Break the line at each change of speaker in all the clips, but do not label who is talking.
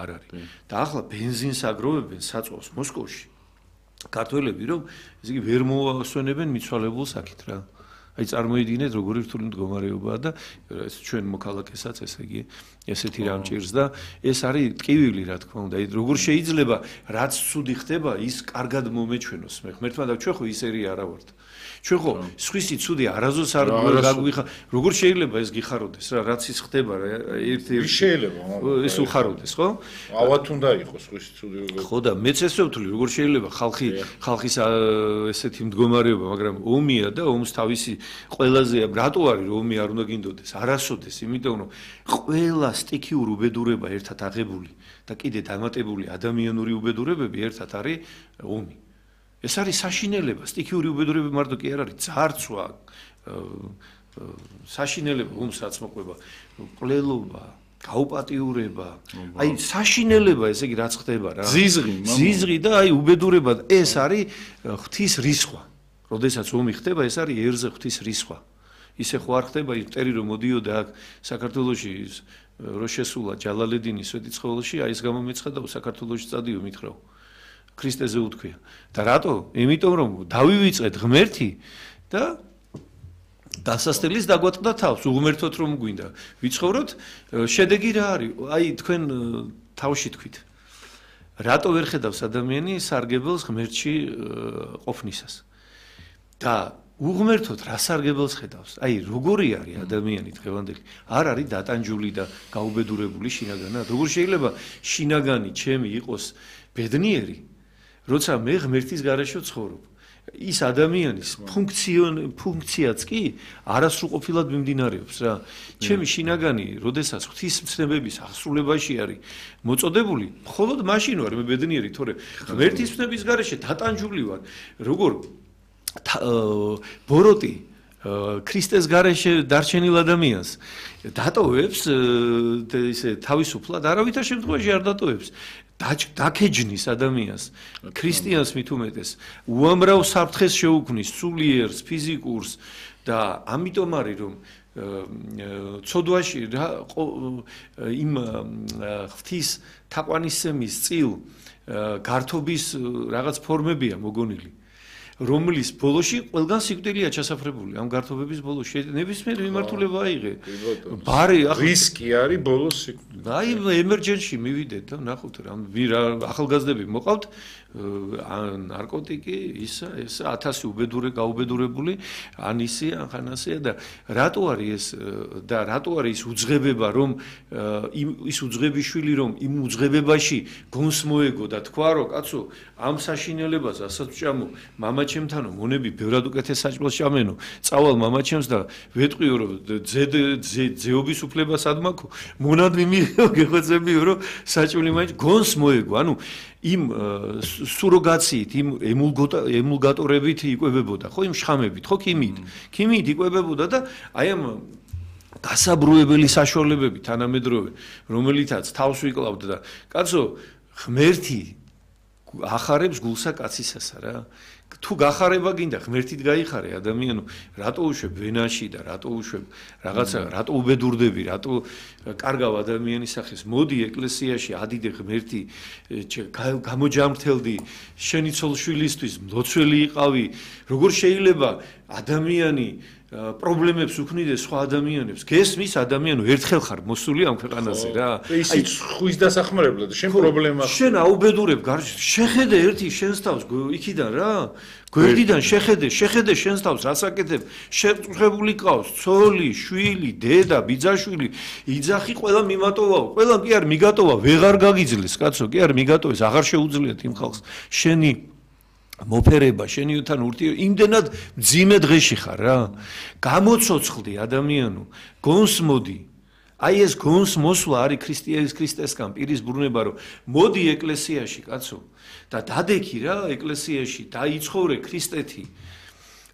არ არის. და ახლა ბენზინს აგროვებენ საწვავს მოსკოვში. ქართველები რომ ესე იგი ვერ მოასვენებენ მიცვალებულ საკით რა. აი წარმოიდგინეთ როგორი რთული მდგომარეობაა და ეს ჩვენ მოქალაქესაც ესე იგი ესეთი რამ ჭირს და ეს არის ტკივილი რა თქმა უნდა. აი როგორ შეიძლება რაც ცუდი ხდება ის კარგად მომეჩვენოს მე ღმერთმა და ჩვენ ხო ისერი არა ვართ. ჩვენ ხო სხვისი ცუდი არაზოს არ გაგვიხარ როგორ შეიძლება ეს გიხაროდეს რა რაც ის ხდება რა ერთ
შეიძლება
ეს უხაროდეს ხო?
ავად უნდა იყოს სხვისი ცუდი
ხო და მეც ესე ვთვლი როგორ შეიძლება ხალხის ესეთი მდგომარეობა მაგრამ ომია და ომს თავისი ყველაზე რატო არის რომ ომი არ უნდა გინდოდეს არასოდეს იმიტომ რომ ყველა სტიქიურ უბედურება ერთად აღებული და კიდე დამატებული ადამიანური უბედურებები ერთად არის ომი ეს არის საშინელება სტიქიური უბედურება მარტო კი არ არის ძარცვა საშინელება ომს რაც მოყვება ყლელობა გაუპატიურება აი საშინელება ესე იგი რაც ხდება რა ზიზღი და აი უბედურება ეს არის ღვთის რისხვა როდესაც ომი ხდება ეს არის ერზე ღვთის რისხვა ისე ხო არ ხდება ის მტერი რომ მოდიოდა აქ საქართველოში რო შესულა ჯალალედინის სვეტიცხოველში აი ეს გამომეცხადა საქართველოში წადიო მითხრაო ქრისტეზე უთქვია და რატო? იმიტომ რომ დავივიწყეთ ღმერთი და დასასწრლის დაგვატყდა თავს უღმერთოთ რომ გვინდა ვიცხოვროთ შედეგი რა არის? აი თქვენ თავში თქვით რატო ვერ ხედავს ადამიანი სარგებელს ღმერთში ყოფნისას და უღმერთოთ რა სარგებელს ხედავს? აი როგორი არის ადამიანი დღევანდელი? არ არის დატანჯული და გაუბედურებული შინაგანად? როგორ შეიძლება შინაგანი ჩემი იყოს ბედნიერი? როცა მე ღმერთის გარეშე ვცხოვრობ. ის ადამიანის ფუნქციაც კი არასრულყოფილად მიმდინარეობს რა. ჩემი შინაგანი, როდესაც ღვთისმცნებების აღსრულებაში არის მოწოდებული, მხოლოდ მაშინ ვარ მე ბედნიერი, თორე ღმერთის მცნების გარეშე დატანჯული ვარ. როგორ ბოროტი ქრისტეს გარეშე დარჩენილ ადამიანს დატოვებს ისე თავისუფლად არავითარ შემთხვევაში არ დატოვებს დაკეჯნის ადამიანს ქრისტიანს მით უმეტეს უამრავ საფრთხეს შეუქმნის სულიერს ფიზიკურს და ამიტომ არის რომ ცოდვაში იმ ღვთის თაყვანისცემის წილ გართობის რაღაც ფორმებია მოგონილი რომლის ბოლოში ყველგან სიკვდილია ჩასაფრებული ამ გართობების ბოლოში ნებისმიერ მიმართულება აიღე ბარი
რისკი არის ბოლოს სიკვდილი
აი ემერჯენსში მივიდეთ და ნახოთ რა ახალგაზრდები მოყავთ ნარკოტიკი ისა 1000 უბედურე გაუბედურებული ან ისი ან ხანასია და რატო არის ეს და რატო არის უძღებება რომ ის უძღებიშვილი რომ იმ უძღებებაში გონს მოეგო და თქვა რომ კაცო ამ საშინელებას ასაც ვჭამო მამაჩემთანო მონები ბევრად უკეთეს საჭმელს ჭამენო წავალ მამაჩემს და ვეტყვიო რომ ძეობის უფლებას არ მაქვს მონადმი მიღო გეხოცებიო რომ საჭმელი მაინც გონს მოეგო ანუ იმ სუროგაციით იმ ემულგატორებით იკვებებოდა ხო იმ შხამებით ხო ქიმიით იკვებებოდა და აი ამ გასაბრუებელი საშუალებები თანამედროვე რომელითაც თავს ვიკლავდა და კაცო ღმერთი ახარებს გულსა კაცისასა რა თუ გახარება გინდა ღმერთით გაიხარე ადამიანო რატო უშვებ ვენაში და რატო უშვებ რაღაცა რატო უბედურდები რატო კარგავ ადამიანის სახეს მოდი ეკლესიაში ადიდე ღმერთი გამოჯამრთელდი შენი ცოლშვილისთვის მლოცველი იყავი როგორ შეიძლება ადამიანი პრობლემებს უქმნიდეს სხვა ადამიანებს გესმის ადამიანო ერთხელ ხარ მოსული ამ ქვეყანაზე რა
ისიც ხვის დასახმარებლად შენ პრობლემა
შენ აუბედურებ შეხედე ერთი შენს თავს იქიდან რა გვერდიდან შეხედე შენს თავს რასაკეთებ შეწუხებული ყავს ცოლი შვილი დედა ბიძაშვილი იძახი ყველა მიმატოვაო ყველა კი არ მიგატოვა ვეღარ გაგიძლეს კაცო კი არ მიგატოვეს აღარ შეუძლიათ იმ ხალხს შენი მოფერება შენითან ურთიერთობა იმდენად მძიმე დღეში ხარ რა გამოცოცხლდი ადამიანო გონს მოდი აი ეს გონს მოსვლა არის ქრისტესკან პირის ბრუნება რომ მოდი ეკლესიაში კაცო და დადექი რა ეკლესიაში დაიცხოვრე ქრისტეთი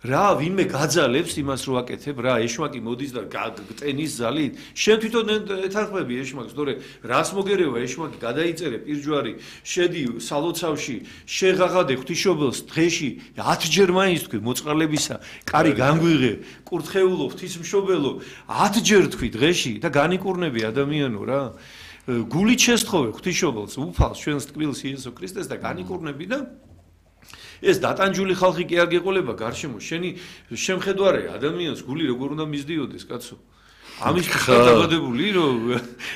რა ვინმე გაძალებს იმას რო აკეთებ რა ეშმაკი მოდის და გტენის ზალით შენ თვითონ ეთანხმები ეშმაკს თორე რას მოგერევა ეშმაკი გადაიწერე პირჯვარი შედი სალოცავში შეღაღადე ღვთისმშობელს დღეში 10 ჯერ მაინც თქვი მოწყალებისა კარი განგვიღე კურთხეულო ღვთისმშობელო 10 ჯერ თქვი დღეში და განიკურნები ადამიანო რა გულით შესთხოვე ღვთისმშობელს, უფალს, ჩვენს ტკბილს იესო ქრისტეს და განიკურნები და ეს დატანჯული ხალხი კი არ გეყოლება გარშემო, შენი შემხედვარე ადამიანს გული როგორ უნდა მისდიოდეს, კაცო? ამის გადაგადებული რომ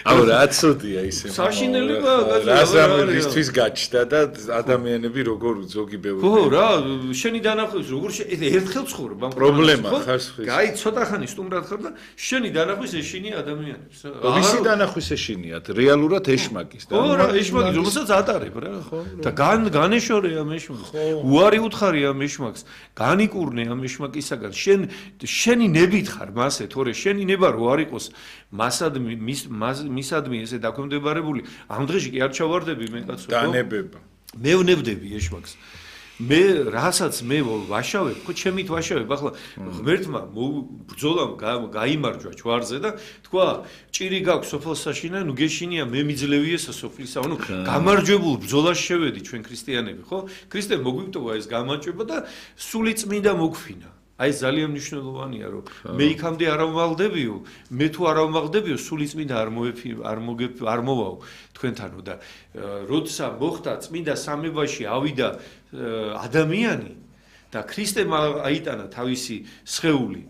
აუ რა ცუდია ისე
საშინელება
რაზამისთვის გაჩნდა და ადამიანები როგორ ზოგი ბევრი
ხო რა შენი დანახვის როგორ ერთხელ ცხოვრობ ამ
პრობლემა ხარ
გაი ცოტა ხანი სტუმრად ხარ და შენი დანახვის ეშინია ადამიანებს
ვისი დანახვის ეშინიათ რეალურად ეშმაკის
და ხო რა ეშმაკის რომელსაც ატარებ რა და განეშორე ამ ეშმაკს უარი უთხარი ამ ეშმაკს განიკურნე ამ ეშმაკისაგან შენი ნებით ხარ მასე თორე შენი ნება რო არ იყოს მისადმი ესე დაქვემდებარებული ამ დღეში კი არ ჩავარდები მე კაცო
დანებება
მე ვნებდები ეშმაკს მე რასაც მე ვაშავებ ხო ჩემით ვაშავებ ახლა ღმერთმა ბრძოლამ გაიმარჯვა ჯვარზე და თქვა ჭირი გაქვს სოფელსაშინა ნუ გეშინია მე მიძლევიესა სოფლისა ანუ გამარჯვებულ ბრძოლაში შევედი ჩვენ ქრისტიანები ხო ქრისტე მოგვიტოვა ეს გამარჯვება და სული წმინდა მოგფინა აი ძალიან მნიშვნელოვანია რომ მე იქამდე არ ვმალდებიო მე თუ არ ვმალდებიო სული წმინდა არ მოვაო თქვენთანო და როცა მოხდა წმინდა სამებაში ავიდა ადამიანი და ქრისტემ აიტანა თავისი სხეული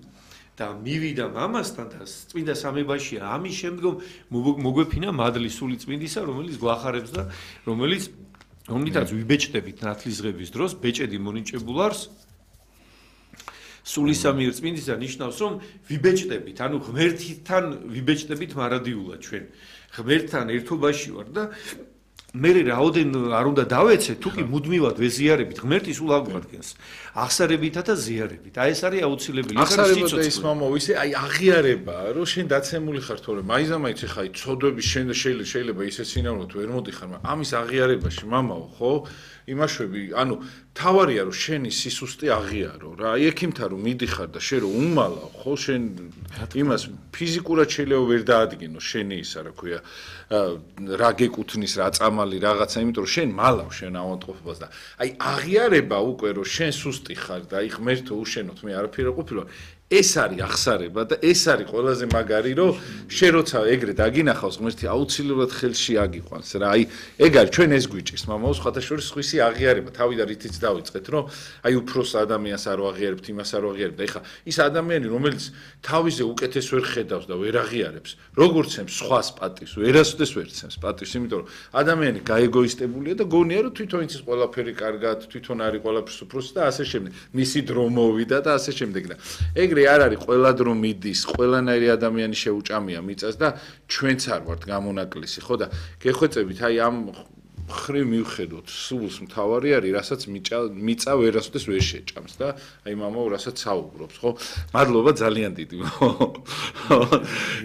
და მივიდა მამასთან და წმინდა სამებაში ამის შემდგომ მოგვეფინა მადლი სული წმინდისა რომელიც გვახარებს და რომლითაც ვიბეჭდებით ნათლისღების დროს ბეჭედი მონიჭებულ არს სულისამიერ წმინდისა ნიშნავს რომ ვიბეჭდებით, ანუ ღმერთთან ვიბეჭდებით მარადიულად ჩვენ. ღმერთთან ერთობაში ვარ და მე რაოდენ არ უნდა დავეცე, თუ კი მუდმივად ვეზიარებით ღმერთი სულ აგვადგენს. აღსარებითა და ზიარებით. აი ეს არის აუცილებელი.
აღსარება და ის მამაო, ისე აი აღიარებაა, რომ შენ დაცემული ხარ თორე მაიზამაიც ხა აი ცოდვების შენ შეიძლება ისე სინამდვილად ვერ მოდიხარ, მაგრამ ამის აღიარებაში მამაო, ხო? იმაშვები, ანუ თავარია რომ შენი სისუსტე აღიარო რა. აი ექიმთან რომ მიდიხარ და შენ რომ უმალავ, ხო, შენ იმას ფიზიკურად შეიძლება ვერ დაადგინო შენი ისა, რა ქვია, რა გეკუთნის, რა წამალი, რაღაცა, იმიტომ რომ შენ მალავ შენ ავადმყოფობას და აი აღიარება უკვე რომ შენ სუსტი ხარ და აი ღმერთო უშენოთ მე არაფერი არ ყოფილა ეს არის აღსარება და ეს არის ყველაზე მაგარი რომ შენ როცა ეგრე დაგინახავს ღმერთი აუცილებლად ხელში აგიყვანს რა აი ეგ არის ჩვენ ეს გვიჭირს მამაო სხვათა შორის სხვისი აღიარება თავიდან რითიც დავიწყეთ რომ აი უფროს ადამიანს არ ვაღიარებთ იმას არ ვაღიარებთ და ეხა ის ადამიანი რომელიც თავიზე უკეთეს ვერ ხედავს და ვერ აღიარებს როგორც ემს სხვას პატივს ვერასოდეს ვერ ცემს პატივს იმიტომ რომ ადამიანი გაეგოისტებულია და გონია რომ თვითონ იცის ყველაფერი კარგად თვითონ არის ყველაფერს უფროსი და ასე შემდეგ მისი დრო მოვიდა და ასე შემდეგ და ეგ არ არის ყველა დრო მიდის, ყველანაირი ადამიანი შეუჭამია მიწას და ჩვენც არ ვართ გამონაკლისი, ხო და გეხვეწებით, აი ამ ხრი მივხედოთ, სულს მთავარი არის, რასაც მიწა ვერასოდეს ვერ შეჭამს და აი მამაო, რასაც საუბრობს, ხო? მადლობა ძალიან დიდი.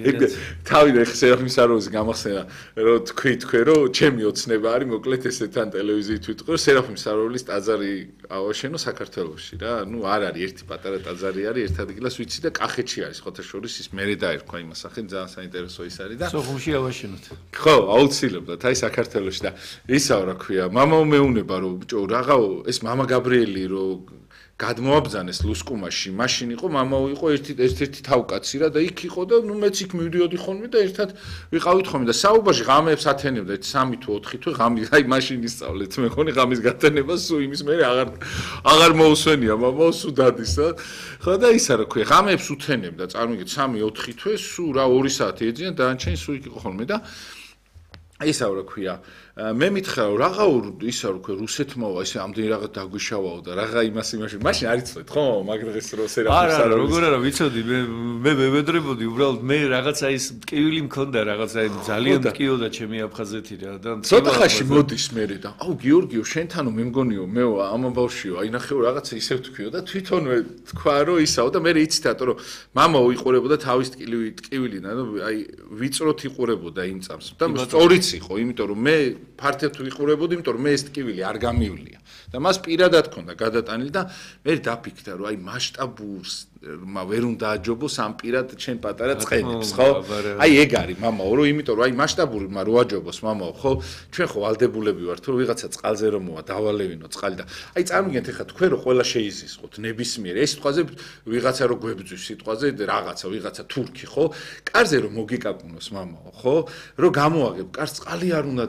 ეგ თავიდან ხსერახმის აროვის გამახსენა, რომ თქვი თქვენ რომ ჩემი ოცნება არის, მოკლედ ესე თან ტელევიზიით ვიტყვი, რომ სერაფიმ საროველის ტაძარი ავაშენო საქართველოში რა. ნუ არ არის ერთი პატარა ტაძარი არის, ერთ ადგილას ვიცი და კახეთში არის, ხოთა შორის ის მერე დაერქვა იმას სახით, ძალიან საინტერესო ის არის და
სოხუმში ავაშენოთ.
ხო, აუცილებლად, აი საქართველოში და ისაა რა ქვია, მამაო მეუნება რომ ბიჭო რაღაცა ეს მამა გაბრიელი რომ გადმოაბძანეს ლუსკუმაში, მაშინ იყო მამაო იყო ერთ-ერთი თავკაცი რა და იქ იყო და ნუ მეც იქ მივდიოდი ხოლმე და ერთად ვიყავით ხოლმე და საუბარში ღამეებს ათენებდა 3 თუ 4 თვე ღამის აი მაშინ ისწავლეთ მე ხონი ღამის გათენება სულ იმის მე აღარ მოусვენია მამაო სულ დადისა ხო და ისა რა ქვია ღამეებს უთენებდა წარმოგიდგეთ 3-4 თვე სულ რა 2 საათი ეძინა დანარჩენი სულ იქ იყო ხოლმე და ისა რა ქვია მე მითხრა რომ რაღა ისა რა ქვია რუსეთმაო ესე ამდენი რაღაც დაგვიშავაო და რაღა იმაში მაშინ არ იცოდეთ ხო მაგრეს რო სერაფიმს
არა როგორ არა ვიცოდი მე მევედრებოდი უბრალოდ მე რაღაცა ის ტკივილი მქონდა რაღაცა ძალიან ტკიოდა ჩემი აფხაზეთი რა და
ცოტა ხაში მოდის მე და აუ გიორგიო შენთანო მე მგონიო მე ამ ბავშვიო აი ნახეო რაღაცა ისევ თქვიო და თვითონვე თქვა რომ ისაო და მე იცით რატო რომ მამაო იყურებოდა თავის ტკივილიდან აი ვიწროთ იყურებოდა იმ წამს და სწორიც იყო, იმიტომ რომ მე ფართედ ვიყურებოდი, იმიტომ რომ მე ეს ტკივილი არ გამივლია. და მას პირადად ქონდა გადატანილი და მე დაფიქრდა, რომ აი მასშტაბურს ვერ უნდა აჯობოს ამ პირად ჩემ პატარა წყენებს, ხო? აი ეგ არის მამაო, რომ იმიტომ რომ აი მასშტაბურმა რო აჯობოს მამაო, ხო? ჩვენ ხო ვალდებულები ვართ, რომ ვიღაცა წყალზე რომ მოვა, დავალევინო წყალი და აი წარმოგიდგენთ ახლა თქვენ რო ყველა შეიზისხოთ ნებისმიერ ეს სიტყვაზე ვიღაცა რო გვებძვის სიტყვაზე რაღაცა ვიღაცა თურქი, ხო? კარზე რომ მოგიკაკუნოს მამაო, ხო? რომ გამოაგებ, კარს წყალი არ უნდა